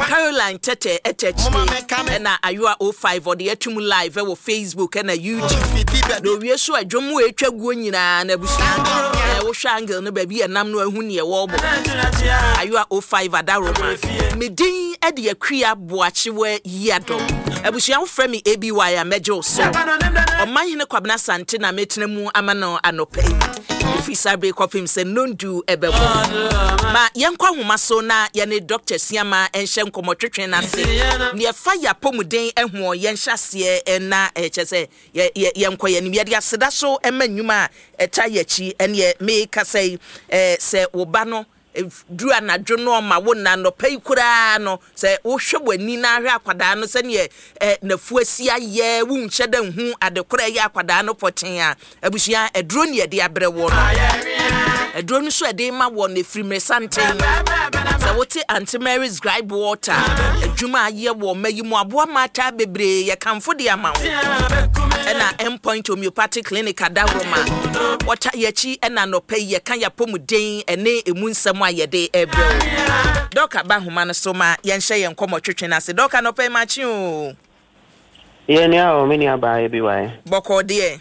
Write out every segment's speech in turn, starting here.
Caroline Tɛtɛ ɛtɛ akyire ɛna Ayowa 05 ɔde atum live ɛwɔ Facebook ɛna YouTube. Na owie so a dwom mu ɛtwa guo nyinaa na abusua ɛɛ wohwɛ angle no baabi ɛnam no ahu neɛ wɔrebɔ. Ayowa 05 Adaroma. Me din ɛde Akua Boakyewa Yiadom. Abusua wofrɛ me ABY a mɛgye wo so. Ɔmanhene Kwabena Asante na metena mu ama no anɔpa yi. Ɛfiri saa bere kɔpem sɛ nnɔndu ɛbɛbɔ. Ma yɛnkɔ ahoma so na yɛne Dɔkta Siama nhyɛ nkɔmmɔtwetwe no ase. Neɛ ɛfa yɛn apɔmuden hoɔ yɛnhyɛ aseɛ na kyerɛ sɛ yɛnkɔ yɛn anim. Yɛde aseda so ma nnwuma a ɛta yɛn akyi. Ɛneɛ mekasa yi sɛ wo ba no Ɛduru anadwo no ɔma wo nna, anɔpa yi koraa no, sɛ wohwɛ w'ani na ahwɛ akwadaa no sɛdeɛ n'afu asi ayɛ, wonhyɛ da nhu ade korɔ a ɛyɛ akwadaa no pɔtee a, abusua, aduro ne yɛde abrɛ woɔ no. Aduro no nso a ɛde rema woɔ no, ɛfiri mmeresanten. Sɛ wote Aunty Mary's Gripe Water adwuma a ayɛ wɔ ɔma yi mu aboa mmaataa bebree, yɛkamfo de ama wo. Ɛna Endpoint Homeopathic Clinic adaworoma, wɔta yɛn akyi ɛna anɔpa yi yɛka yɛn apɔmuden ɛne emu nsɛm a yɛde rebrɛ wo. Dɔk aba nhoma no so ma yɛnhyɛ yɛn nkɔmmɔ twetwe no ase. Dɔk anɔpa yi makye oo. Yɛ nua o, me nua baa ebi wae. Bɔkɔɔ deɛ.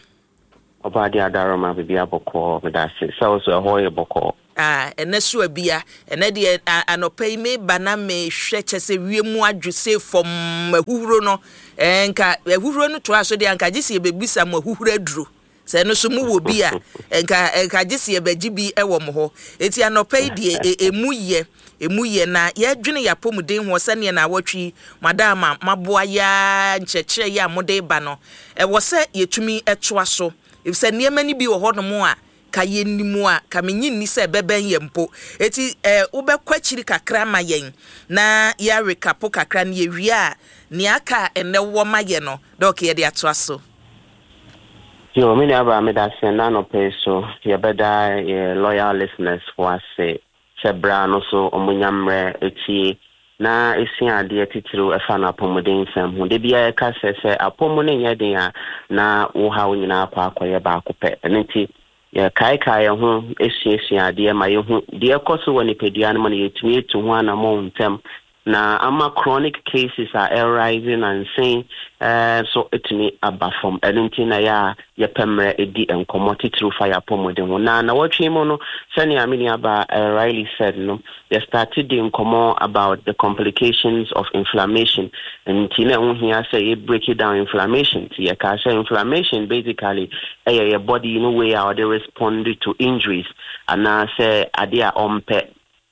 Ɔbaa deɛ adaroma biribi abɔkɔɔ medase sɛ wo so ɛhɔ yɛ bɔkɔɔ. Ah ɛnɛ so abia ɛnɛ deɛ anɔpa yi meba na mehwɛ kyɛ sɛ wiem adwo sei fɔmm ahuhuro no eh, nka ahuhuro no toa so deɛ anka gye sɛ yɛbɛbisa mo ahuhuro aduro sɛ ɛno so mowɔ bi a nka nka gye sɛ yɛbɛgye bi wɔ mo hɔ eti anɔpa yi deɛ emu yɛ emu yɛ na yɛdwene yɛn apɔmuden ho sɛdeɛ na awɔtwe yi madaama maboa yɛa nkyerɛkyerɛ yi a mode ba no ɛwɔ sɛ yɛtumi toa so efisɛ nneɛma no bi wɔ hɔnom a Ka yɛnnim a, ka mennye nni sɛ ɛbɛbɛn yɛn mpo. Enti eh, wobɛkɔ akyiri kakra ama yɛn na yɛarekapo kakra na yɛwie a, nea aka a ɛnnɛ wowɔ ma yɛn no, Dɔk, yɛde atoa so. Yo, me nuabaa medase ɛnnɛ anɔpa yi so yɛbɛda yɛ loyal listeners foɔ ase sɛ berɛ a no so wɔnya mmerɛ tie na sua adeɛ titiriw ɛfa no apɔmuden nsɛm ho. Da biara yɛka sɛ, sɛ apɔ mu no nyɛ den a, na wo haw nyinaa akɔ akɔyɛ baako pɛ. Ɛno nti, yɛkaekae yɛn ho suasua adeɛ ma yɛhu deɛ ɛkɔ so wɔ nipadua no mu na yɛtumi atu ho anammɔn ntɛm na ama chronic cases a ɛrise nansa yi nso atumi aba fam. Ɛno nti na ɛyɛ a yɛpɛ mmerɛ di nkɔmmɔ titiriw fa yɛn apɔmuden ho. Na nnawɔtwe yi mu no, sɛnea me nuabaa Riley said no, yɛ starte di nkɔmmɔ about the complications of inflammation. Nti na ɛho hia sɛ yɛ break down inflammation. Nti yɛkaa sɛ inflammation basically ɛyɛ yɛ body no way a ɔde respond to injuries anaasɛ adeɛ a ɔmpɛ.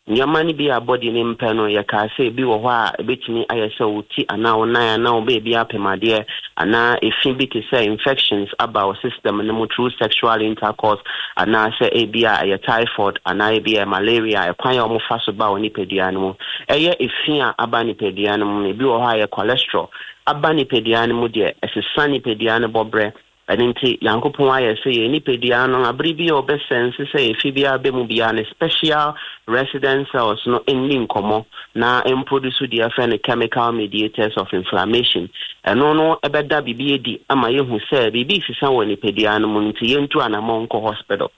Nneɛma no bi a body no mpɛ no, yɛkaa sɛ ebi wɔ hɔ a ebetumi ayɛ sɛ wo ti anaa wo nan anaa wo baabi apem adeɛ anaa efi bi te sɛ infections aba wo system no mu through sexual intercourse anaasɛ ebia ɛyɛ typhoid anaa ebia ɛyɛ malaria, ɛkwan a wɔfa so ba wo nipadua no mu. Ɛyɛ efi a aba nipadua no mu no, ebi wɔ hɔ a ɛyɛ cholesterol aba nipadua no mu deɛ, ɛsesa nipadua no bɔberɛ. Ɛno nti, Nyankopɔn ayɛ sɛ yɛn nipadua no, bere bi a ɔbɛsɛnse sɛ efi biara ba mu biara, ne special resident cells no nni nkɔmmɔ na ɛmproduce deɛ yɛfrɛ no chemical mediators of inflammation. Ɛno no bɛda biribi adi ama yɛahu sɛ biribi resesa wɔ nipadua no mu nti yɛntu anammɔn nkɔ hospital.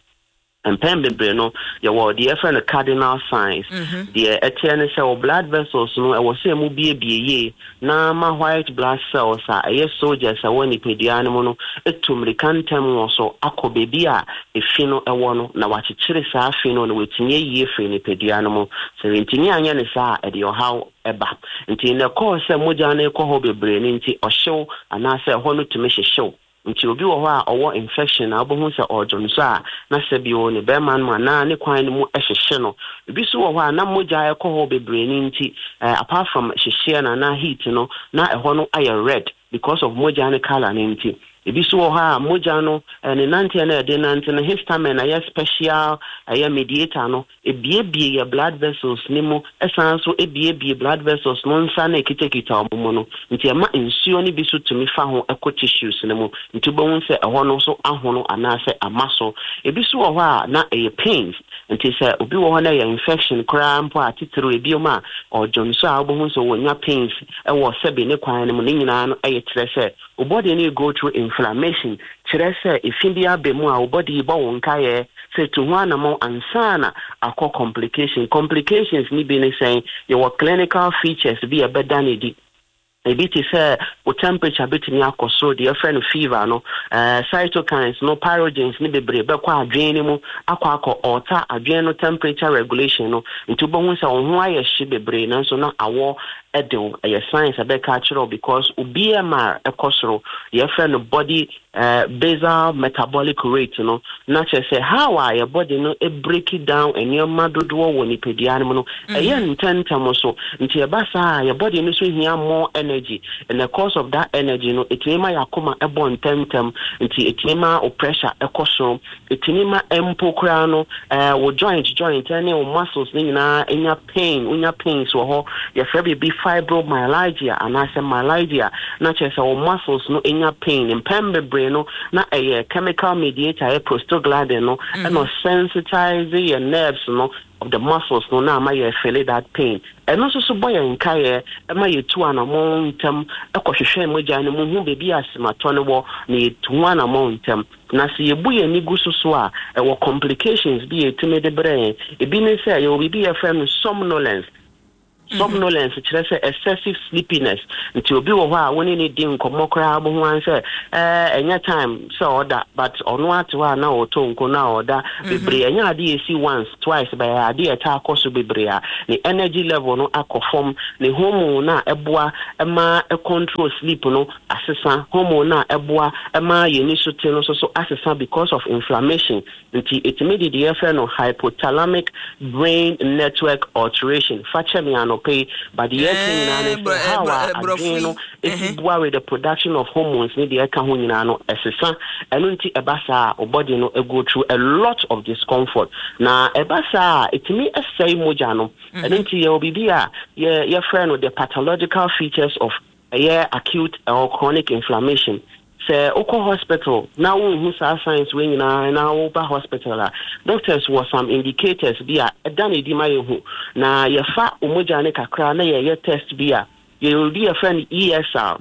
Mpɛn bebree no, yɛwɔ deɛ yɛfrɛ no cardinal signs. Deɛ ɛteɛ ne sɛ wo blood vessels no, ɛwɔ sɛ ɛmu biebie yie na ama white blood cells a ɛyɛ soldiers a ɛwɔ nipadua no mu no atu mmirika ntɛm wɔ so akɔ baabi a efi no wɔ no na wɔakyekyere saa fi no na wɔatumi ayi afiri nipadua no mu. Sɛ wɔantumi anyɛ no saa a, ɛde ɔhaw ba. Nti na ɛkɔɔ sɛ mogya no rekɔ hɔ bebree no nti, ɔhyew anaasɛ ɛhɔ no tumi hyehyew. Nti obi wɔ hɔ a ɔwɔ infection a wobɛhu sɛ ɔredwonsɔ a na sɛbio ne bɛrima no mu anaa ne kwan no mu hyehye no. Ebi nso wɔ hɔ a na mogya ɛkɔ hɔ bebree no nti apart from hyehyeɛ no anaa heat no na ɛhɔ no ayɛ red because of mogya no colour no nti. Ebi nso wɔ hɔ a mogya no ne nanteɛ no a ɛde nante no histamine a ɛyɛ special ɛyɛ mediator no Ebiebie yɛ blood vessels no mu san nso ebiebie blood vessels no nsa no a ekitakita wɔn mu no nti ɛma nsuo no bi nso tumi fa ho kɔ tissues no mu nti wobɛhu sɛ ɛhɔ no nso ahono anaasɛ ama so. Ebi nso wɔ hɔ a na ɛyɛ pains nti sɛ obi wɔ hɔ na ɛyɛ infection koraa mpo a titiriw ebiom a ɔdwonsɔ a wobɛhu sɛ wɔnya pains wɔ sɛbe ne kwan no mu ne nyinaa no ɛyɛ kyerɛ sɛ wo body no go through. Inflammation kyerɛ sɛ efi bi aba mu a wo body bɔ wo nkaeɛ sɛ tu ho anammɔn ansa na akɔ complication. Complications no bi ne sɛn? Yɛwɔ clinical features bi a ɛbɛda no adi. Ebi te sɛ wo temperature betumi akɔ soro, deɛ yɛfrɛ no fever no. Cytokines no, pyrogens no bebree bɛkɔ adwene no mu akɔ akɔ alter adwene no temperature regulation no. Nti wobɛhu sɛ wo ho ayɛ hye bebree nanso na awɔ de wo. Ɛyɛ science a ɛbɛka akyerɛ wo because wo BMR kɔ soro, deɛ yɛfrɛ no body basal metabolic rate no, na kyerɛ sɛ how a yɛ body no break down nneɛma dodoɔ wɔ nipadua no mu no, ɛyɛ ntɛmntɛm so. Nti ɛba saa a, yɛ body no so hia more energy. In the course of that energy no, ɛtumi ma yɛ akoma bɔ ntɛmntɛm, nti ɛtumi ma wo pressure kɔ soro. Ɛtumi ma mpo koraa no, wo joint joint ne wo muscles no nyinaa nya pain, wonya pains wɔ hɔ. Yɛfrɛ biribi fibromyalgia anaasɛ myalgia, na kyerɛ sɛ wo muscles no nya pain. Mpɛn bebree no, na ɛyɛ chemical mediator, ɛyɛ prostaglandin no, ɛna ɔsensitize yɛ nerves no of the muscles no na ama yɛ feel that pain. Ɛno nso so bɔ yɛn nkaeɛ ma yɛtu anammɔn ntɛm kɔhwehwɛ mogya no mu hu baabi a asematɔ no wɔ na yɛtu ho anammɔn ntɛm. Na sɛ yɛbu yɛn ani gu so so a, ɛwɔ complications bi a ɛtumi de brɛ yɛn. Ebi ne sɛ, yɛwɔ biribi a yɛfrɛ no somnolence. Somnolence kyerɛ sɛ excessive sleepiness. Nti obi wɔ hɔ a wo ne no di nkɔmmɔ koraa wobɛhu ara sɛ ɛɛ ɛnyɛ time sɛ ɔda but ɔno ara te hɔ a na ɔretɔ nko na ɔda bebree. Ɛnyɛ ade a ɛsi once, twice but ɛyɛ ade a ɛtaa kɔ so bebree a ne energy level no akɔ fam, ne hormone no a ɛboa ma control sleep no asesa, hormone no a ɛboa ma yɛn ani so te no nso so asesa because of inflammation. Nti ɛtumi de deɛ yɛfrɛ no hypothalamic brain network alteration. Fa kyɛ me anɔpa yi, but deɛ yɛreka nyinaa ne sɛ how a adwene no ɛsi boa with the production of hormones ne deɛ ɛka ho nyinaa no ɛsesa. Ɛno nti ɛba saa a, wo body no go through a lot of discomfort. Na ɛba saa a, ɛtumi sɛe mogya no. Ɛno nti yɛwɔ biribi a yɛfrɛ no the pathological features of ɛyɛ acute or chronic inflammation. Sɛ wokɔ hospital na wonhu saa signs wei nyinaa na woba hospital a, doctors wɔ some indicators bi a ɛda no adi ma yɛhu. Na yɛfa wo mogya no kakra na yɛyɛ test bi a, yɛwɔ bi yɛfrɛ no ESR,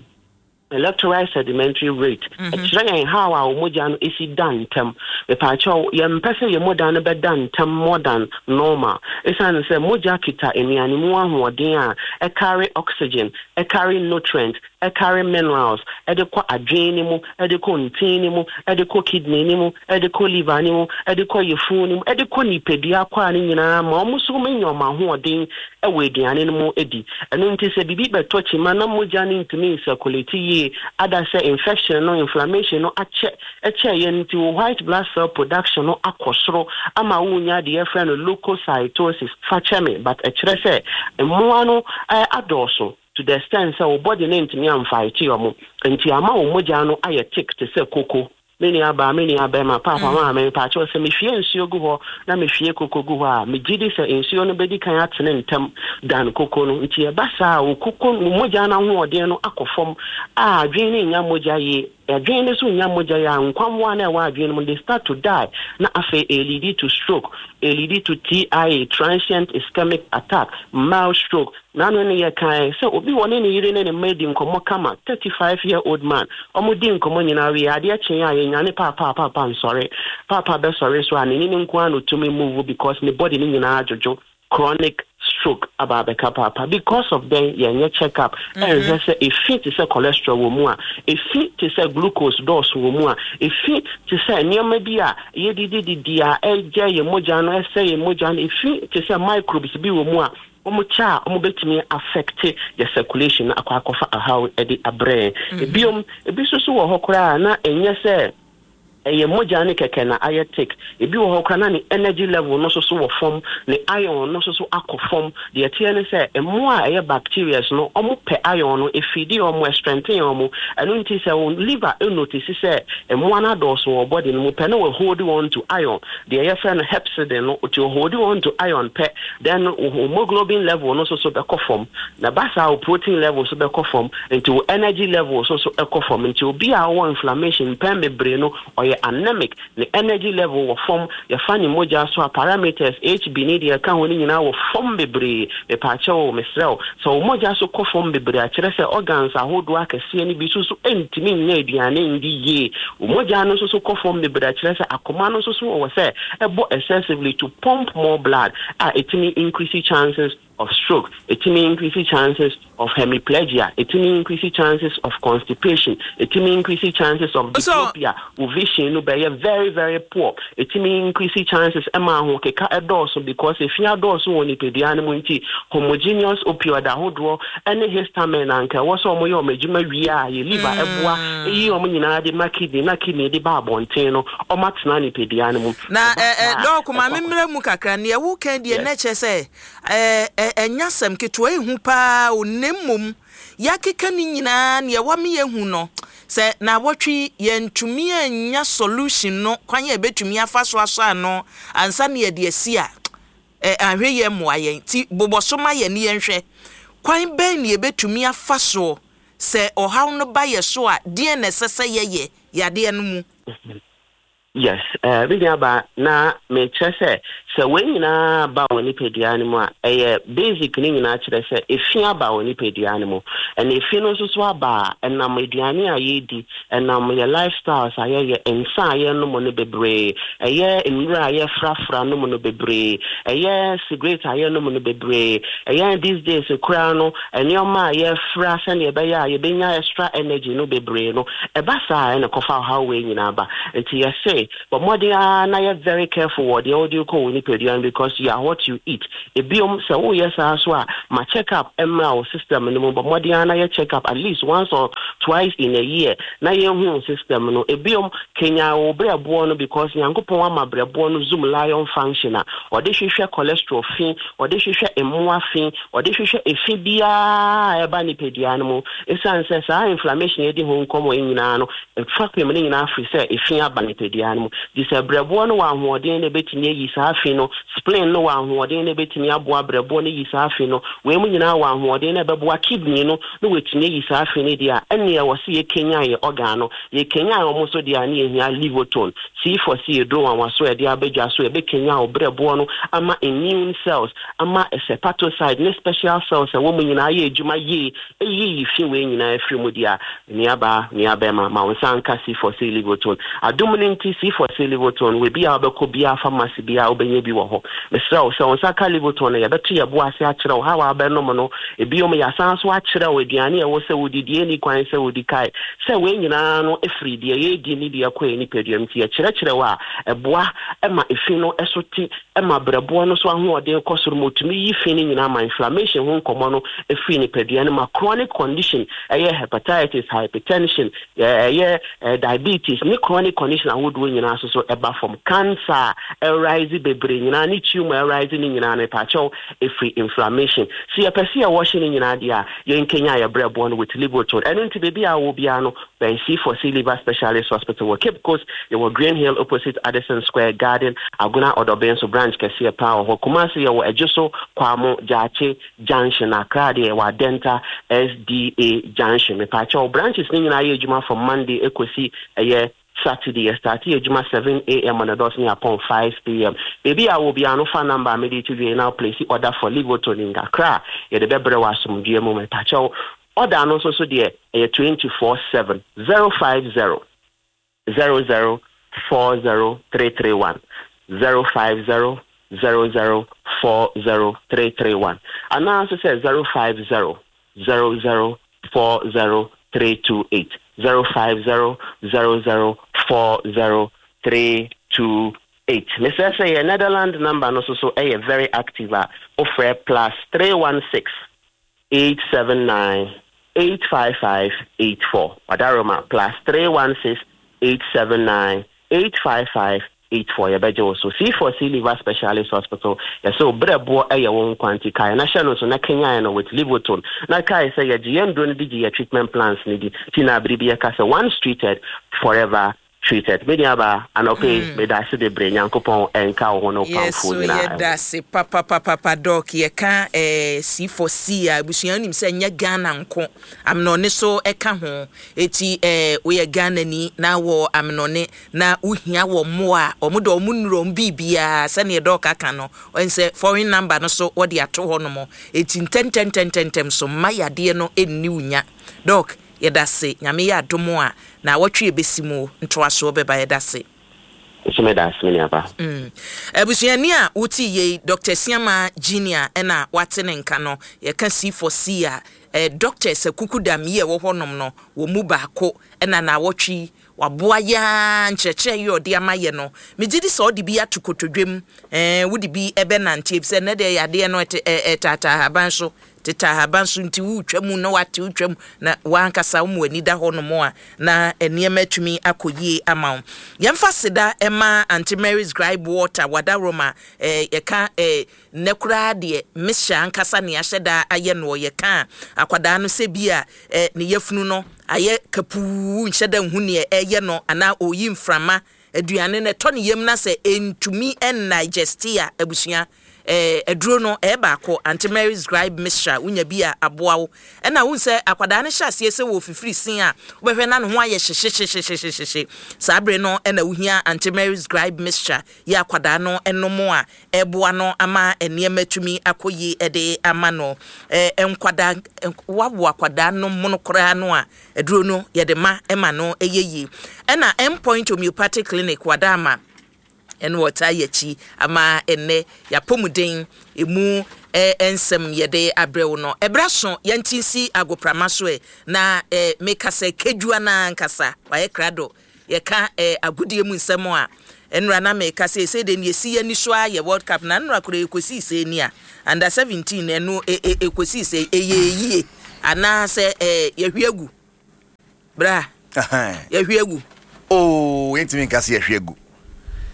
electrolyte sedimentary rate. Ɛkyerɛ yɛn how a wo mogya no si da ntɛm. Mepaakyɛw, yɛmpɛ sɛ yɛn mogya no bɛda ntɛm more than normal. Esiane sɛ mogya kita nnuane mu ahoɔden a ɛcarry oxygen, ɛcarry nutrient, ɛcarry minerals de kɔ adwene no mu, de kɔ ntini no mu, de kɔ kidney no mu, de kɔ liver no mu, de kɔ yafunu no mu, de kɔ nipadua akwaa no nyinaa ma wɔn nso nya wɔn ahoɔden wɔ aduane no mu di. Ɛno nti sɛ biribi bɛtɔ kyima na mogya no ntumi nsɛkulati yie, ada sɛ infection no, inflammation no akyɛ kyɛɛ yɛn nti wo white blood cell production no akɔ soro ama wonya deɛ yɛfrɛ no leukocytosis, fa kyɛ me but ɛkyerɛ sɛ mmoa no adɔɔso to the extent sɛ wo body no antumi amfighte wɔn nti ama wo mogya no ayɛ thick te sɛ koko. Me nua baa, me nua bɛrima, paapa, maame, mepaakyɛw sɛ mehwie nsuo gu hɔ na mehwie koko gu hɔ a, megye di sɛ nsuo no bɛdi kan atene ntɛm dan koko no. Nti ɛba saa a, wo koko, wo mogya no ahoɔden no akɔ fam a adwene no nnya mogya yie. Adwene no so nnya mogya yi a, nkwammoa no a ɛwɔ adwene no mu no, they start to die, na afei ɛleadi to stroke, ɛleadi to TIA, transient ischemic attack, mild stroke. N'ano no yɛkae sɛ obi wɔ ne ne yere ne ne mma adi nkɔmmɔ kama, 35 year old man, wɔdi nkɔmmɔ nyinaa wie, adeɛ kyee a yɛnyane paapa a paapa nsɔre, paapa bɛsɔre nso a n'ani no nko ara na ɔtumi move because ne body no nyinaa adwodwo. Chronic stroke aba abɛka paapa because of dɛn yɛnyɛ check up ɛnhwɛ sɛ efi te sɛ cholesterol wɔ mu a, efi te sɛ glucose dɔɔso wɔ mu a, efi te sɛ nneɛma bi a yɛdidi didi a ɛgya yɛn mogya no, ɛsɛe yɛn mogya no, efi te sɛ microbes bi wɔ mu a wɔn kyɛ a wɔbɛtumi affect yɛ circulation no akɔ akɔfa ahaw de abrɛ yɛn. Ebiom, ebi nso so wɔ hɔ koraa a na ɛnyɛ sɛ ɛyɛ mogya no kɛkɛ na ayɛ thick. Ebi wɔ hɔ koraa na ne energy level no nso so wɔ fam, ne iron no nso so akɔ fam. Deɛ ɛteɛ ne sɛ, mmoa a ɛyɛ bacterias no, wɔpɛ iron no, ɛfeedi wɔn, ɛstrengthen wɔn. Ɛno nti sɛ wo liver notice sɛ mmoa no adɔɔso wɔ wo body no mu pɛ, na wahold on to iron, deɛ yɛfrɛ no hepcidin no, nti ɔhold on to iron pɛ, then wo hemoglobin level no nso so bɛkɔ fam. Na ɛba saa a, wo protein level nso bɛkɔ fam, nti wo energy level nso so kɔ fam. Nti obi a ɔwɔ inflammation mpɛn bebree no, ɔyɛ. Ɔyɛ anemic, ne energy level wɔ fam, yɛfa ne mogya so a, parameters, HB ne deɛ ɛka ho no nyinaa wɔ fam bebree. Mepaakyɛw o, mesrɛ wo, sɛ wo mogya so kɔ fam bebree a, kyerɛ sɛ organs ahodoɔ akɛseɛ no bi nso so ntumi nnya aduane ndi yie. Wo mogya no nso so kɔ fam bebree a, kyerɛ sɛ akoma no nso so wɔ sɛ ɛbɔ excessively to pump more blood a ɛtumi increase chances of stroke, ɛtumi increase chances of hemiplegia, ɛtumi increase chances of constipation, ɛtumi increase chances of diplopia, wo vision no bɛyɛ very very poor, ɛtumi increase chances ɛma ahokeka ɛdɔɔso because efi adɔɔso wɔ nipadua no mu nti homogeneous opioid ahodoɔ ɛne histamine anka ɛwɔ sɛ wɔyɛ wɔn adwuma wie a yɛ liver ɛboa ɛyi wɔn nyinaa de ma kidney na kidney de ba abɔnten no, wɔn atena nipadua no mu. Na ɛ ɛ Doc, ma me mmra mu kakra, nea woka deɛ na ɛkyerɛ sɛ ɛ ɛnyɛ asɛm ketewa, ehu paa o, na mmom yɛakeka ne nyinaa nea ɛwɔ me yɛhu no sɛ naawɔtwe yɛntumi annya solution no, kwan a yɛbɛtumi afa so asɔ ano ansa na yɛde asi a, ɛ ahwɛ yɛ mmoa yɛn. Ti bobɔ so ma yɛn ne yɛnhwɛ kwan bɛn na yɛbɛtumi afa soɔ sɛ ɔhaw no ba yɛ so a, deɛn na ɛsɛ sɛ yɛyɛ yadeɛ no mu? Yes, eh, me nuabaa, na mekyerɛ sɛ, sɛ wei nyinaa ba wɔ nipadua no mu a, ɛyɛ basic no nyinaa kyerɛ sɛ efi aba wɔ nipadua no mu. Ɛna efi no nso so aba a, ɛnam aduane a yɛredi, ɛnam yɛ lifestyles a yɛyɛ, nsa a yɛnom no bebree, ɛyɛ nnuro a yɛfrafra nom no bebree, ɛyɛ cigarette a yɛnom no bebree, ɛyɛ these days koraa no, nneɛma a yɛfra sɛnea ɛbɛyɛ a yɛbɛnya extra energy no bebree no, ɛba saa a ɛna ɛkɔfa ɔhaw wei nyinaa ba. Nti yɛse bɔ mmɔden ara na yɛ very careful wɔ deɛ wode rekɔ wo nipadua no because you are what you eat. Ebiom, sɛ woyɛ saa so a, ma check up mmra wo system no mu. Bɔ mmɔden ara na yɛ check up at least once or twice in a year na yɛnhu wo system no. Ebiom, kanyan wo brɛboɔ no because Nyankopɔn ama brɛboɔ no Zoom lion function a ɔde hwehwɛ cholesterol fi, ɔde hwehwɛ mmoa fi, ɔde hwehwɛ efi biara a ɛba nipadua no mu. Esiane sɛ saa inflammation yɛdi ho nkɔmmɔ yi nyinaa no, fapem no nyinaa firi sɛ efi aba nipadua no mu. Gye sɛ brɛboɔ no wɔ ahoɔden na ebetumi ayi saa fi no, spleen no wɔ ahoɔden na ebetumi aboa brɛboɔ no yi saa fi no, wei mu nyinaa wɔ ahoɔden na ɛbɛboa kidney no na wɔatumi ayi saa fi no deɛ a, ɛnneɛ wɔ sɛ yɛkanyan yɛ organ no. Yɛkanyan wɔn nso deɛ a, ne yɛhia Livotone. C4C eduro nwanwaso a yɛde abɛdwa so ɛbɛkanyan wo brɛboɔ no ama immune cells, ama hepatocyte ne special cells a ɛwɔ mu nyinaa ayɛ adwuma yie, ɛyiyi fi wei nyinaa afiri mu deɛ a, nuabaa, nuabɛrima, ma wo nsa nka C4C Livotone. Adom no nti, C4C Livotone, wɔ bi a wobɛkɔ biara, pharmacy biara, wobɛnya bi wɔ hɔ. Mesrɛ wo, sɛ wo nsa ka Livotone no, yɛbɛto yɛn bo ase akyerɛ wo how a wobɛnom no. Ebiom, yɛasan nso akyerɛ wo aduane a ɛwɔ sɛ wodi, deɛ ɛnni kwan sɛ wodi. Kae sɛ wei nyinaa no firi deɛ yɛredi ne deɛ ɛkɔ yɛn nipadua mu. Nti yɛkyerɛkyerɛ wo a, ɛboa ma efi no so te, ma berɛboɔ no so ahoɔden kɔ soro, ma ɔtumi yi fi no nyinaa, ma inflammation ho nkɔmmɔ no firi nipadua no, ma chronic condition, ɛyɛ hepatitis, hypertension, ɛyɛ diabetes ne chronic condition ahodoɔ nyinaa nso so ɛba fam. Cancer a ɛrise bebree nyinaa ne tumor a ɛrise ne nyinaa no, mepaakyɛw, ɛfiri inflammation. Sɛ yɛpɛ sɛ yɛwɔhye ne nyinaa deɛ a, yɛnkanyan yɛ berɛboɔ no with Livotone. Ɛno nti baabi a wowɔ biara no, bɛn C4C Liver Specialist Hospital wɔ Cape Coast, yɛwɔ Green Hill opposite Addison Square Garden, Agona Ɔdɔben so branch kɛseɛ paa wɔ hɔ. Kumasi yɛwɔ Adwoso, Kwamo, Gyaakye Junction, Accra deɛ yɛwɔ Adenta SDA Junction. Mepaakyɛw, branches no nyinaa yɛ adwuma from Monday ɛkɔsi ɛyɛ Saturday. Yɛ start yɛ adwuma 7 a.m. on the dot ne yɛapɔn 5 p.m. Baabi a wɔ biara no, fa number a mede to dwa yi na place order for Livotone nkakra a yɛde bɛbrɛ wɔ asomdwoeɛ mu. Mepaakyɛw, order no nso so deɛ ɛyɛ 24/7, 050 00 40331, 050 00 40331, anaa nso sɛ 050 00 40328, 050 00 40328. Mesrɛ sɛ yɛ Netherland number no nso so ɛyɛ very active a, wofrɛ +316 879 855 84. Wadaroma, +316 879 855 84, yɛbɛgye wo so. C4C Liver Specialist Hospital, yɛsɛ wo berɛboɔ ɛyɛ wo nkwa, nti kae na hyɛ no so na kenyan no with Livotone. Na kae sɛ yɛgye yɛn nduro no di, gye yɛ treatment plans no di, nti na abere bi yɛka sɛ once treated, forever. treated. Me nuabaa, anɔpa yi, meda ase bebree. Nyankopɔn nka wo ho ne wo Yes, pamfoɔ so nyinaa ho. yɛda ase papapapapa Doc. Yɛka eh, C4C a, abusua wonim sɛ ɛnyɛ Ghana nko, amenɔne so ɛka ho. Eti eh, woyɛ Ghanani na wɔ amenɔne na wohia wɔ mmoa a, wɔn de wɔn nnuro, wɔn biribiara sɛdeɛ Doc aka no, ɔn sɛ foreign number no so wɔde ato hɔ nom. Eti ntɛntɛntɛntɛntɛm so mma yadeɛ no nni wo nya. Doc, Yɛdase, Nyame yɛ adom a, naawɔtwe ɛbɛsi mu ntoasoɔ bɛba, yɛdase. Nso meda ase me nuaba. Abusuani a wote yei, Doctor Asiamah Junior ɛna wate ne nka no, yɛka C for C a, eh, doctors akukudam yi a ɛwɔ hɔnom no, wɔn mu baako ɛna naawɔtwe yi waboa yɛ ara nkyerɛkyerɛ yi a ɔde ama yɛ no, megye di sɛ ɔde bi ato kotodwam, eh, wode bi ɛbɛnante, efisɛ nnɛ deɛ yadeɛ no ɛte, eh, ɛtaataa ahaban so, Tete ahaban so nti woretwa mu na woate wotwa mu na w'ankasa woma w'ani da hɔnom a na nneɛma atumi akɔ yie ama wo. Yɛmfa seda mma Aunty Mary's Gripe Water Wadaroma eh, yɛka eh, nnɛ koraa deɛ mixture ankasa nea ahyɛ da ayɛ noɔ yɛka a akwadaa no sɛ bi a eh, ne yafunu no ayɛ kapuu nhyɛ da nhu neɛ ɛyɛ no anaa ɔreyi mframa aduane no ɛtɔ ne yam na sɛ ɛntumi ndigeste a abusua Eh, aduro no, ɛyɛ baako, Aunty Mary's Gripe Mixture, wonya bi a, aboa wo. Ɛna wohu sɛ akwadaa no hyɛ aseɛ sɛ wɔrefifiri sin a, wobɛhwɛ na ne ho ayɛ hyehyehyehyehyehye. Saa bere no na wohia Aunty Mary's Gripe Mixture yi a akwadaa no nom a, ɛreboa no ama nneɛma atumi akɔ yie de ama no. Eh, nkwadaa, woawo akwadaa no mono koraa no a, aduro no yɛde ma ma no yɛ yie. Ɛna Endpoint Homeopathic Clinic, Wadaama, Ɛna ɔtaa yɛ akyi ama ɛnnɛ y'apɔmuden emu nsɛm yɛde abrɛ wo no. Ɛberɛ aso yɛnte nsi agoprama so ɛ, na meka sɛ Kedua no ara ankasa wayɛ krado. Yɛka agodie mu nsɛm a, nnora na meka sɛ seesei deɛ nea ɛsi y'ani so ara yɛ World Cup, na nnora koraa ɛkɔsii sɛn ni a, Under 17 ɛno ɛkɔsii sɛn, ɛyɛɛ yie anaasɛ yɛahwie agu? Bra, yɛhwe agu. Oh, yɛntumi nka sɛ yɛhwe agu.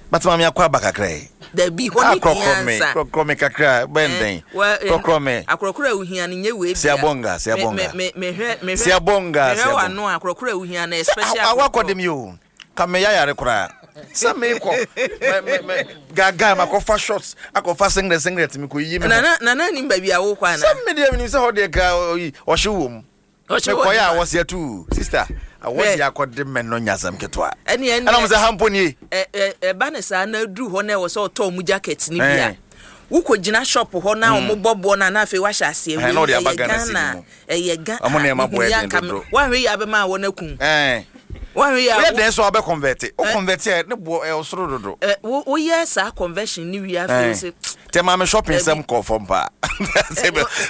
But maame akɔ aba kakra yi. Dabi, hɔ ne hia nsa. Krɔkrɔ me kakra, bɛn dɛn. Krɔkrɔ me. Akorɔkorɔ a wohia no nyɛ wei bia. Siabonga, siabonga. Me me mehwɛ mehwɛ. Siabonga, siabonga. Mehwɛ w'ano akorɔkorɔ a wohia no especially akorɔkorɔ. Awakɔ dem yi o. Ka me yayare koraa. Sɛ mekɔ me me me gaga makɔfa shots akɔfa singlet singlet mekɔ yiyi me ho. Nana nana nim baabi a wokɔ ana? Sɛ me deɛ menim sɛ hɔ deɛ ka ɔhyew wɔ mu. Mekɔyɛ a wɔse atuu sister awɔ deɛ akɔde mɛ no nyɛ asɛm ketewa ɛna ɔmo sɛ ha mpo nie. Ɛba ne saa na aduru hɔ na ɛwɔ sɛ ɔtɔ ɔmo jacket no bi a wokɔ gyina shop hɔ na ɔmo bɔ boɔ no a na afei wahyɛ aseɛ wei ɛyɛ Ghana ɛyɛ Ghana ɔmo nneɛma boɔ yɛ den dodo wanhwɛ yie abɛma awɔ no akum wanhwɛ yie a woyɛ dɛn so a wobɛ convert wo convert a ne boɔ ɛwɔ soro dodo woyɛ saa conversion no wie afei wo se Tɛ maa me shopping sɛm kɔ fam paa.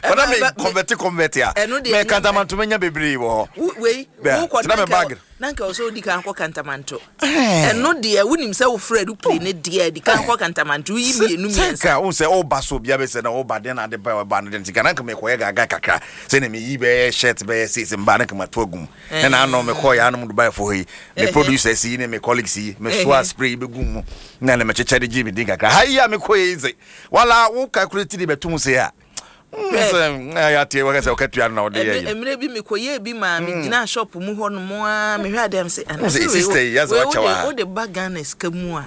Bana me convert convert a. Me kantamanto menya bebree wɔ hɔ. Wei wo kɔ na bag. Na nka ɔsɛ odi kan kɔ kantamanto. Ɛno deɛ wonim sɛ wofrɛ aeroplane ne deɛ di kan kɔ kantamanto woyi mmienu mmiɛnsa. Sɛ nka wo sɛ ɔba so bia bɛsɛ na ɔba den na ade ba ɔba no den nti na nka mekɔyɛ gaga kakra sɛ na meyi bɛyɛ shirt bɛyɛ six mba na nka mato agum. Ɛna ano mekɔ yɛ anom Dubai fo hɔ yi me producers yi ne me colleagues yi me soa spray yi bɛgu mu na ne mekyekyɛ de gye me din kakra ha yi a mekɔ yi dze wala wo calculate de bɛtom se a sɛ yɛate wɔka sɛ wokatua no na wode yɛ yi mmerɛ bi mekɔyɛɛ bi maa megyinaa shop mu hɔ nom a mehwɛ adeɛ m sɛ anasɛ sister yi yɛsɛ wakyɛ wa wode ba Ghana sika mu a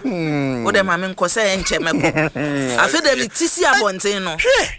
wode ma menkɔ sɛ ɛnkyɛ mɛkɔ afei dɛ meti si abɔnten no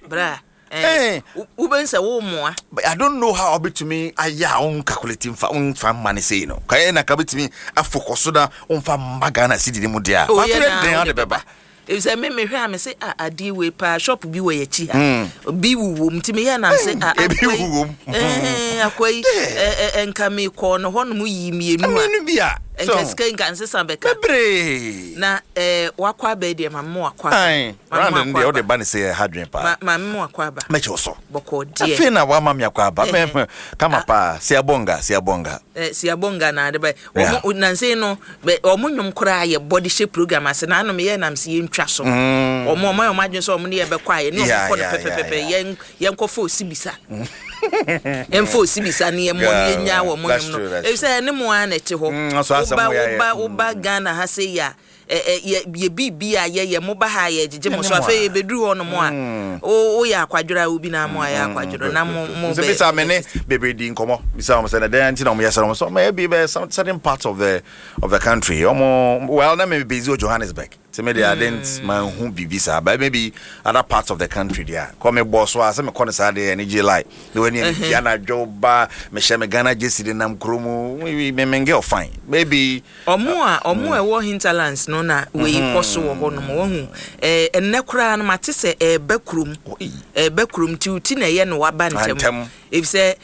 bra Eh, wobɛhu sɛ wommoa. But I don't know how wobɛtumi ayɛ a won calculate mfa womfa mma no sei no. Ka na ka wobɛtumi afokɔ so na womfa mma Ghana cedi no mu deɛ a. Oh, But yɛ woyɛ na den wode ade bɛba. Efisɛ me mehwɛ a me se ah adeɛ wei paa shop bi wɔ yɛkyi ha. Bi wowɔ mu nti meyɛ na me se ah Ebi akoa yi wowɔ mu. eh akoa yi eh, eh, nka mekɔɔ no hɔ nom yii mmienu a. Mmienu bi a. Nka So sika yi nka nsesa bɛka. bebree. Na eh, wakɔ aba yi deɛ ma me wakɔ aba. Ae, Ma me round no wakɔ deɛ wode aba. ba no sɛ ɛha dwen paa. Ma ma me wakɔ aba. Mɛkyɛ wo so. Bɔkɔɔ deɛ. Afei na wama me akɔ aba. Ɛhɛ. Mɛ kama Ah. paa. Siabonga, siabonga. Eh, siabonga na ade ba. Yeah. Wɔn nansa yi no, bɛ wɔn nnwom koraa yɛ bɔ de hyɛ program ase. Na ano meyɛ nam sɛ yɛntwa so. Wɔn wɔn ayɛ wɔn adwene sɛ wɔn ne yɛ bɛkɔ a yɛne wɔn Yeah, kɔ no yeah, yeah, pɛpɛpɛpɛ. yeah. Yɛn yɛnkɔfa osibisa. Yɛmfa osibisa ne yɛmmɔ ne yɛnyaa wɔn That's nnwom no. true, that's Efisɛ ɛne mo ara na ɛte hɔ. Mm, nso asɛm Woba wo yɛ ayɛ. woba woba Ghana ha sei a. Ɛ yɛ biribi a yɛyɛ moba ha a yɛgyegye mo so. Yɛne mo Afei a. yɛbɛduru hɔ nom a, woyɛ akwadworɔ a, obi na mo ayɛ akwadworɔ na mo Sɛ bɛ bisa me ne bebree di nkɔmmɔ, bisa wɔn sɛ na dɛn nti na wɔn yɛ sɛ wɔn sɛ ɔmo ebi bɛ some certain parts of the country ɔmo, well, na me busy wɔ Johannesburg ti me de, I didn't man hu biribi saa, but maybe other parts of the country deɛ kɔ me bɔ so a sɛ me kɔ ne saa deɛ ɛne gye lie ne wɔn ani ɛne pia na adwo ba mehyɛ me Ghana jersey de nam kurom me girl fine maybe. Ɔmo a ɛwɔ hinterlands no na wei kɔ so wɔ hɔ nom. Wɔhu ɛnnɛ koraa no, mate sɛ ɛɛba kurom, ɛɛba kurom nti ti na ɛyɛ no waba ntɛm ntɛm. Efisɛ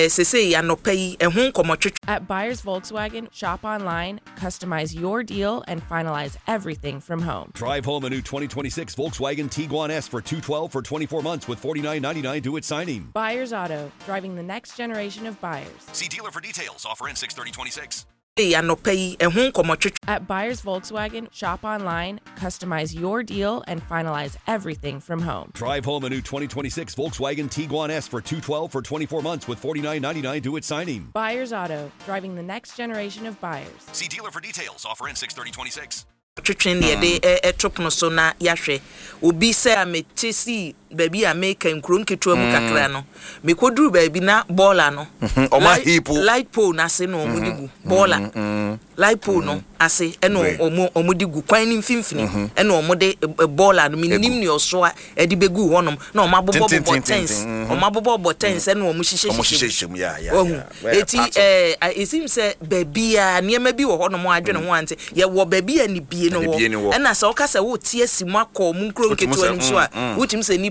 sesei anɔpa yi ɛho nkɔmmɔtwetwe. At Buyers Volkswagen, shop online, customize your deal, and finalize everything from home. Drive home a new 2026 Volkswagen Tiguan S for 212 for 24 months with $49.99 due at signing. Buyers Auto, driving the next generation of buyers. See dealer for details. Offer ends 6/30/26. Anɔpa yi ɛho nkɔmmɔtwetwe. At Buyers Volkswagen, shop online, customize your deal, and finalize everything from home. Drive home a new 2026 Volkswagen Tiguan S for 212 for 24 months with $49.99 due at signing. Buyers Auto, driving the next generation of buyers. See dealer for details. Offer ends 6/30/26. Twetwe ne yɛde ɛto pono so na yɛahwɛ obi sɛ a mete sii baabi a meka nkuro nketewa mu kakra no, mekɔduru baabi na bɔɔla no Ɔmo aheap. Light pole n'ase na ɔmo de gu bɔɔla, light pole no ase ɛna ɔmo de gu kwan ne mfimfini, ɛna ɔmo de bɔɔla no, menim nea ɔsoa ɛde bɛgu hɔnom na ɔmo abobɔ bobɔ Tenten, tents tenten, ɔmo abobɔ bobɔ tents ɛna ɔmo hyehyɛ ɔmo hyehyɛ hyehyɛ mu ya ya Wahu ya. Well, eti part of- esim sɛ baabi a nneɛma bi wɔ hɔnom a adwene ho ante yɛwɔ baabi a nibie no Nibie no wɔ wɔ. ɛna sɛ ɔka sɛ wote asi mu akɔ mu nkuro Wotumi nketewa sɛ, no mu so a, wotumi sɛ nipa